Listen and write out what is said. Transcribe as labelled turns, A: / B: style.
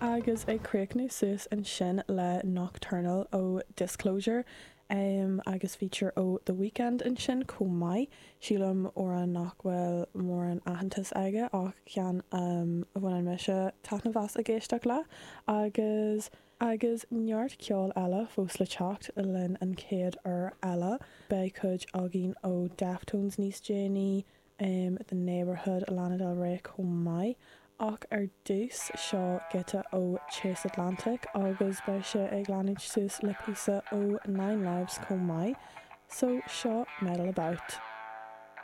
A: Agus ag críochnú suas ansin le Nocturnal ó Disclosure agus feature ó The Weeknd ansin chomh maith. Sílim amhrán nach bhfuil mórán aitheantas aige ach ceann a bhaineann mise taitneamh as ag éisteacht le. Agus agus neart ceoil eile fós le teacht linn an chéad uair eile. Beidh cuid againn ó Deftones níos déanaí, The Neighbourhood, Lana Del Rey chomh maith. Ach ar dtús, seo giota ó Chase Atlantic agus beidh sé ag leanúint suas le píosa ó Nine Lives chomh maith. So seo Meddle About.